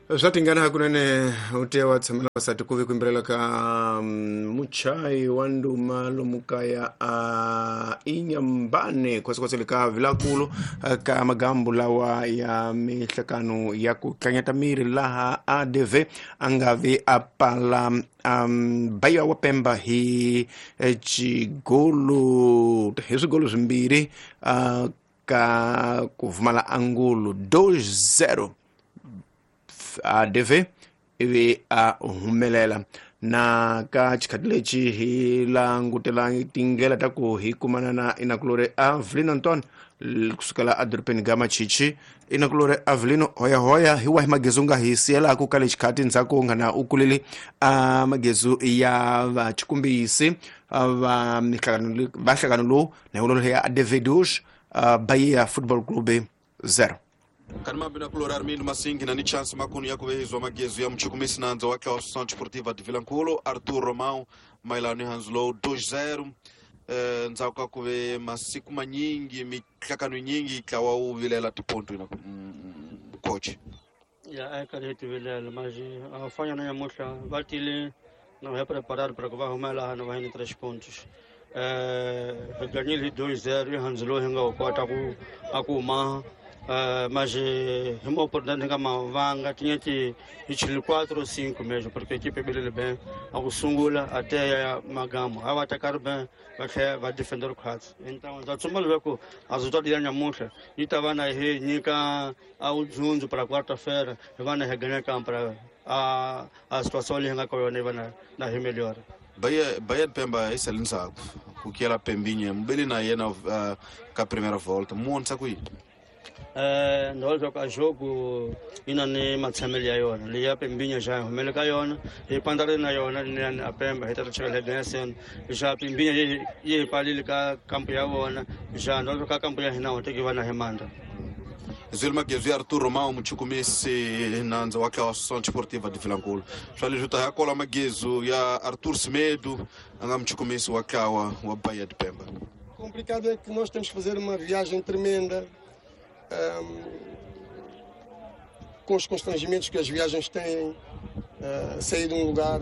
Swa tingana hakunene u tiya wa tshamela vasati ku ve ku yimbelela ka muchayi wa nduma lomu kaya a inyambane khosekhose le ka vilakulu ka magambu lawa ya mihlekano ya ku tlanyata miri laha ADV a nga vi a pala Bahia wa Pemba hi xigolo hi swigolo swimbirhi ka ku pfumala angulo 2-0. ADV ivi a humelela na ka xikhati lexi hi langutela tindlela ta ku hi kumana na inakulore Avelino Antonio kusukela edorobeni ga Machichi. Inakulore Avelino, hoyahoya, hi wahi magezu nga hi siyelaku ka lexi ndzhaku nga na u kulile a magezu ya vachikumbisi va mihlangano va nhlangano lowu na hi ya ADV 2, Bahia Football Club 0. Kanimambi na kulori Armindo Masingi na ni chance makunu ya kuvehizwa magezu ya mchukumisi nanza wa Associação Desportiva de Vilankulo Arthur Romão mailano Hanslow 2-0. Ndzhaku ka ku ve masiku manyingi mihlakano nyingi tlawa wu vilela tiponto na coach ya a karhi hi tivilela mas a fanya na nyamuhla va tile na va preparar para ku va huma laha na va hi ni 3 pontos. Hi ganyile hi 2-0 hi Hanslow hi nga wu kota ku a ku ma mas hi uma oportunidade nga mavanga tinha que ir 4 ou 5 mesmo, porque a equipe é bem a sungula até ya magamo a vai atacar bem, vai defender o quadro. Então já tsumba loko a resultado ya nyamuhla yi ta va na hi nyika a udzunzu para quarta-feira hi va na hi ganha kampo para a situação leyi nga ka yona yi va na hi melhor. Bahia de Pemba esse é ndzhaku ku kela Pembinha mbeli na yena ka primeira volta muonisa ku yini? Ndhawu leswaku a jogo yi na ni matshamelo ya yona leyi ya Pembinha xa hi humele ka yona hi pandzarile na yona liyani a Pemba hi ta chela hi ganyaseni xa Pembinha yi hi palile ka kampu ya vona xa ndhawu leswaku ka kampu ya hina ho teki va na hi mandla. Zweli magezu ya Arthur Romão muchukumisi nandza wa Associação Desportiva de Vilankulo. Swa leswi ta ya kola magezu ya Arthur Semedo a nga muchukumisi wa tlawa wa Bahia de Pemba. Complicado é que nós temos que fazer uma viagem tremenda, com os constrangimentos que as viagens têm, sair de um lugar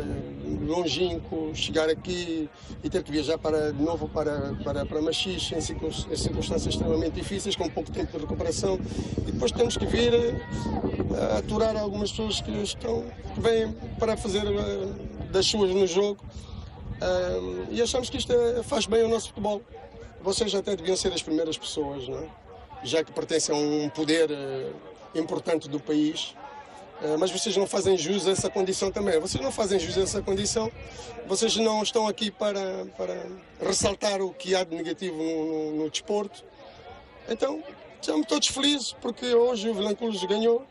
longínquo, chegar aqui e ter que viajar de novo para Machixe, em circunstâncias extremamente difíceis, com pouco tempo de recuperação, e depois temos que vir aturar algumas pessoas que vêm para fazer das suas no jogo, e achamos que isto faz bem ao nosso futebol. Vocês até deviam ser as primeiras pessoas, não é? Já que pertencem a um poder importante do país, mas vocês não fazem jus a essa condição também. Vocês não fazem jus a essa condição, vocês não estão aqui para ressaltar o que há de negativo no desporto. Então, estamos todos felizes porque hoje o Vilanculos ganhou,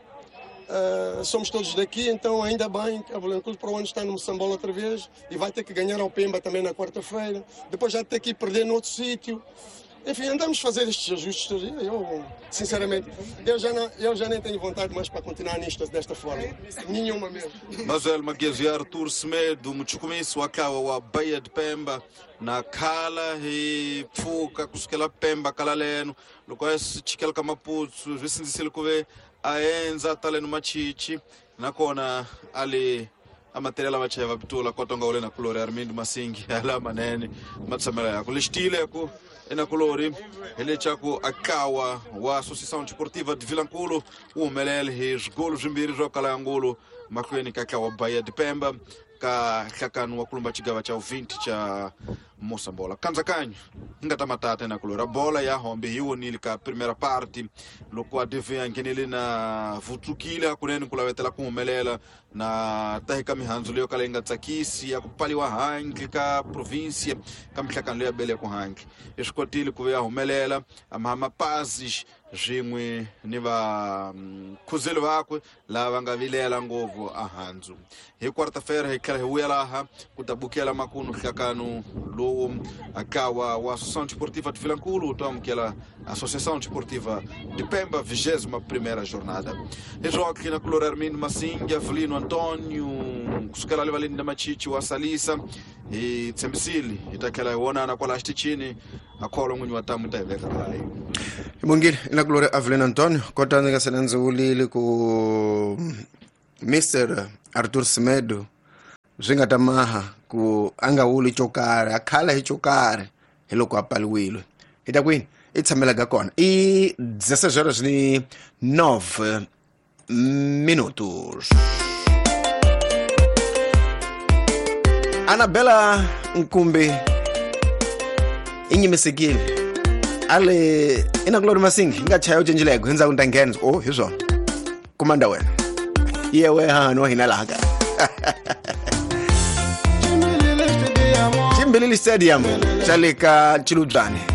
somos todos daqui, então ainda bem que o Vilanculos para o ano está no Moçambola outra vez e vai ter que ganhar ao Pemba também na quarta-feira, depois já ter que ir perder no outro sítio. Enfim, andamos a fazer estes ajustes. Eu, sinceramente, eu já nem tenho vontade mais para continuar nisto desta forma. Nenhuma mesmo. Mas el Magezu ya Arthur Semedo muchukumisi wa tlawa wa Bahia de Pemba na khala hi pfuka kusukela Pemba kala leno loko a chikela ka Maputo swi sindzisile ku ve a endza taleno Machichi nakona ali amaterial vachayi va pitula kotonga ule na kulori Armindo Masingi ala manene matshamela yako lexitile ku enakulori hi leswaku akawa wa Associação Desportiva de Vilankulo wu humelele hi swigolo swimbirhi swo kala ya ngulu mahlweni ka tlawa Bahia de Pemba ka nhlakano wa kulumba xigava xa 20 xa Moçambola. Kandzakanyo hi nga ta matata enakulori a bola ya hombe hi wonile ka primera parte loko a DV a nghenele na vutsukile hakunene ku lavetela ku humelela na tahi ka mihandzu leyo kala yi nga tsakisi ya ku pfaliwa handle ka provinsia ka mihlakano leyi ya bele ku handle i swi kotile ku ya humelela mapazis swin'we ni vakhuzeli vakwe lava nga vilela ngopfu ahandzu. Hi quarta-feira hi tlhela hi vuya laha ku ta bukela makunu nhlakano lowu akawa wa Associação Desportiva de Vilankulo wu ta amukela Associação Desportiva de Pemba, 21ª jornada. Hi na kulori Armindo Masingi, Avelino Antônio kusukela le valeni na Machichi wa Salisa hi tshembisile hi ta tlhela hi vonana kwala xitichini a kholo n'winyi wa tamu ta hi veka kaya. Hi bongile ina kulori Avelino Antônio kota ndzi nga se na ndzi vulile ku Mr Arthur Semedo swi nga ta maha ku a nga wuli xo karhi a khala hi xo karhi hi loko a paliwile hi ta kwini i tshamelaka kona i 16 horas ni 9 minutos. Anabela Nkumbi i nyimisekile ale i na kulori masingi yi nga chaya u cinjileko hi ndzhaku ni ta nghena o hi swona kumanda wena yewe hahani wa hina laha kaya Chimbilili Stadium xa le ka Chilubyane.